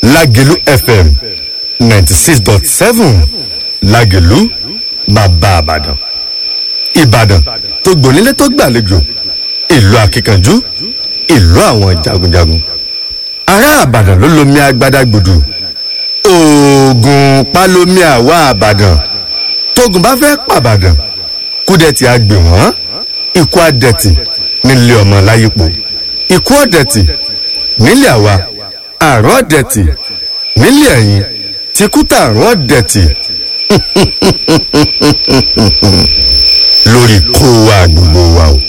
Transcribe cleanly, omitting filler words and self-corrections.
Lágelú FM 96.7, Lágelú, bàbá Àbàdàn. Ìbàdàn tó gbònílé tó gbàlejò, ìlú akíkanjú, ìlú àwọn jagunjagun. Ará Àbàdàn ló lomi agbada gbòdù. Oògùn palomi àwa Àbàdàn. Tógun bá fẹ́ pàbàdàn, kúdẹ̀tì á gbè wọ́n, ikú àdẹ̀tì nílé ọmọ láyípo, ikú ọ̀dẹ̀tì nílé àwa, àrùn ọ̀dẹ̀tì nílé ẹ̀yìn, tìkútà àrùn ọ̀dẹ̀tì lórí kó wa gbogbo wa o.